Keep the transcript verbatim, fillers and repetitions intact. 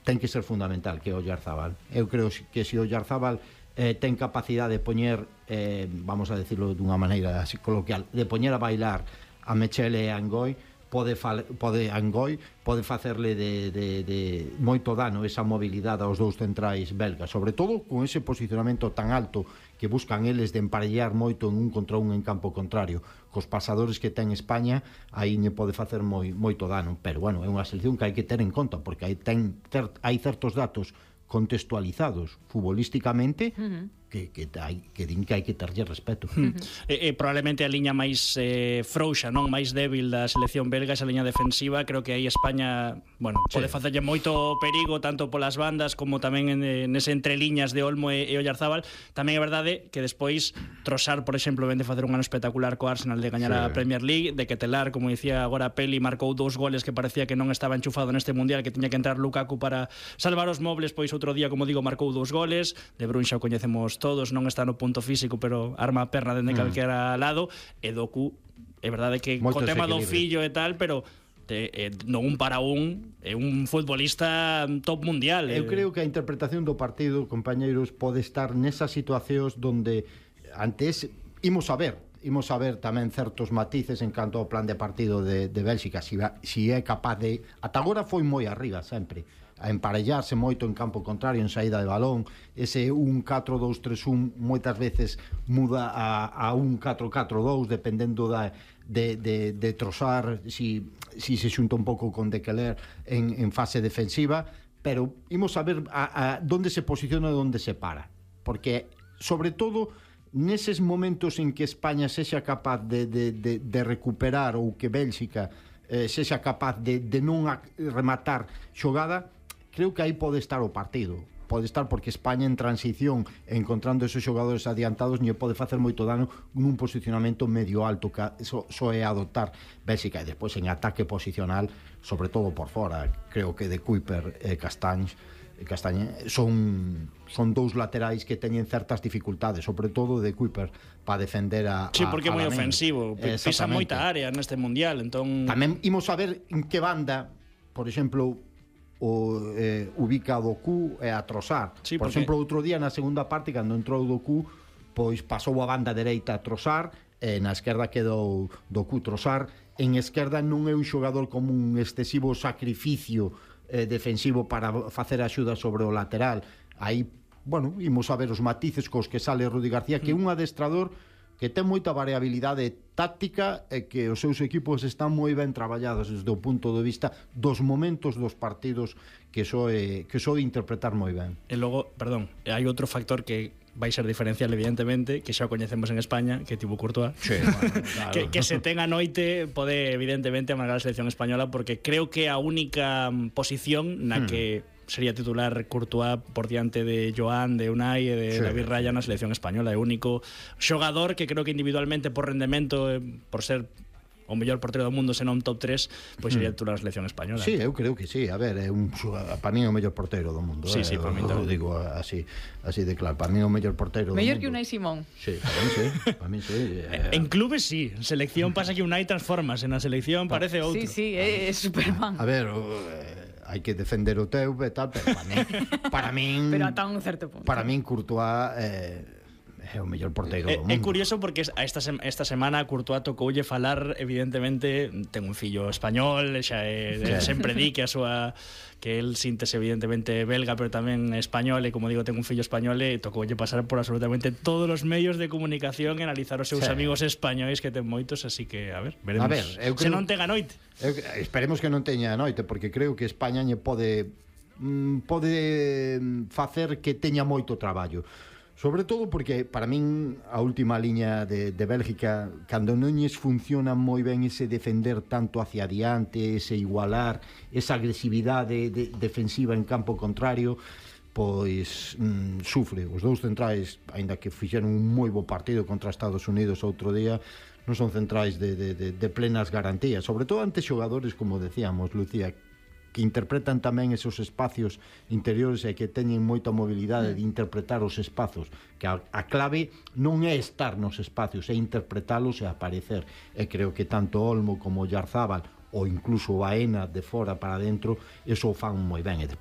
ten que ser fundamental, que é Oyarzábal. Eu creo que se Oyarzábal eh, ten capacidade de poñer, eh, vamos a decirlo dunha maneira así coloquial, de poñer a bailar a Mechele e a Angoi, pode, fal, pode Angoi pode facerle de, de, de moito dano esa mobilidade aos dous centrais belgas, sobre todo con ese posicionamento tan alto que buscan eles de emparellar moito en un contra un en campo contrario. Cos pasadores que ten España, aí ne pode facer moi, moito dano, pero bueno, é unha selección que hai que ter en conta, porque hai, ten, ter, hai certos datos contextualizados futbolísticamente uh-huh. que, que, hai, que din que hai que terlle respeto. Uh-huh. E, e probablemente a liña máis eh, frouxa, non máis débil da selección belga, esa liña defensiva, creo que aí España, bueno, pode sí. facerlle moito perigo tanto polas bandas como tamén en, nese entreliñas de Olmo e, e Oyarzábal. Tamén é verdade que despois Trossard, por exemplo, vende facer un ano espectacular co Arsenal de gañar sí. a Premier League, de que Telar, como dicía agora Peli, marcou dous goles que parecía que non estaba enchufado neste mundial, que tiña que entrar Lukaku para salvar os mobles, pois outro día, como digo, marcou dous goles. De Bruyne xa o coñecemos todos, non está no punto físico, pero arma a perna dende mm. calquera lado. E Doku, é verdade que co tema do fillo e tal, pero te, eh, non un para un, é un futbolista top mundial. Eu eh. creo que a interpretación do partido, compañeiros, pode estar nesas situacións donde antes imos a ver imos a ver tamén certos matices en canto ao plan de partido de, de Bélxica, si, si é capaz de... Ata agora foi moi arriba sempre, a emparellarse moito en campo contrario, en saída de balón. Ese un catro dous tres un moitas veces muda a, a un catro catro dous, dependendo da, de, de, de Trossard, si, si se xunta un pouco con De Keler en, en fase defensiva, pero imos a ver a, a donde se posiciona e onde se para, porque sobre todo neses momentos en que España sexa capaz de, de, de, de recuperar, ou que Bélxica eh, sexa capaz de, de non rematar xogada, creo que aí pode estar o partido. Pode estar porque España en transición, encontrando esos xogadores adiantados, lle pode facer moito dano nun posicionamento medio alto, que so, so é adoptar Bélxica. E despois en ataque posicional, sobre todo por fora, creo que de Kuiper e Castañs Castañe son son dous laterais que teñen certas dificultades, sobre todo de Kuiper, para defender a Sí, porque é moi Lamine. Ofensivo, pisa moita área neste mundial, entón tamén imos a ver en que banda, por exemplo, o eh, ubica a Doku e a Trossard. Sí, por porque... exemplo, outro día na segunda parte, cando entrou Doku, pois pasou a banda dereita a Trossard e na esquerda quedou Doku. Trossard en esquerda non é un xogador como un excesivo sacrificio eh, defensivo para facer axuda sobre o lateral. Aí, bueno, imos a ver os matices cos que sale Rudi García, que é un adestrador que ten moita variabilidade táctica e que os seus equipos están moi ben traballados desde o punto de vista dos momentos dos partidos que soe, que soe interpretar moi ben. E logo, perdón, hai outro factor que vai ser diferencial, evidentemente, que xa o coñecemos en España, que tivo Courtois, sí, bueno, claro. que, que se ten a noite pode evidentemente amargar a selección española, porque creo que a única posición na hmm. que sería titular Courtois por diante de Joan, de Unai e de sí, David Raya na selección española. É o único xogador que creo que individualmente por rendemento, por ser o mellor portero do mundo, senón top tres, pois sería titular a selección española. Sí, eu creo que sí. A ver, é un para mí é o mellor portero do mundo. Sí, eh? sí, para mí tamén. Digo así, así de claro, para mí é o mellor portero do mundo. Mellor que Unai Simón. Sí, para mí sí, para mí sí. Eh, en clubes sí, en selección pasa que Unai transformas, en a selección parece outro. Sí, sí, é, é Superman. A ver, eh, hai que defender o teu e tal, pero para min, para min pero ata un certo punto. Para min Courtois eh, é o mellor porteiro do mundo. É curioso porque esta esta semana Courtois tocoulle falar, evidentemente, ten un fillo español, xa é, sí. sempre di que a súa que el síntese evidentemente belga, pero tamén español, e como digo, ten un fillo español, e tocoulle pasar por absolutamente todos os medios de comunicación e analizar os seus sí. amigos españois, que ten moitos, así que, a ver, veremos. A ver, eu creo, se non ten a noite. Eu, esperemos que non teña a noite, porque creo que España lle pode mm, pode facer que teña moito traballo. Sobre todo porque, para min, a última liña de, de Bélgica, cando non lles funciona moi ben ese defender tanto hacia adiante, ese igualar, esa agresividade de, defensiva en campo contrario, pois mm, sufre. Os dous centrais, aínda que fixeron un moi bo partido contra Estados Unidos outro día, non son centrais de, de, de, de plenas garantías, sobre todo ante xogadores, como decíamos, Lucía, que interpretan tamén esos espacios interiores e que teñen moita mobilidade de interpretar os espazos, que a, a clave non é estar nos espacios, é interpretalos e aparecer. E creo que tanto Olmo como Oyarzábal ou incluso Baena de fora para dentro, eso o fan moi ben.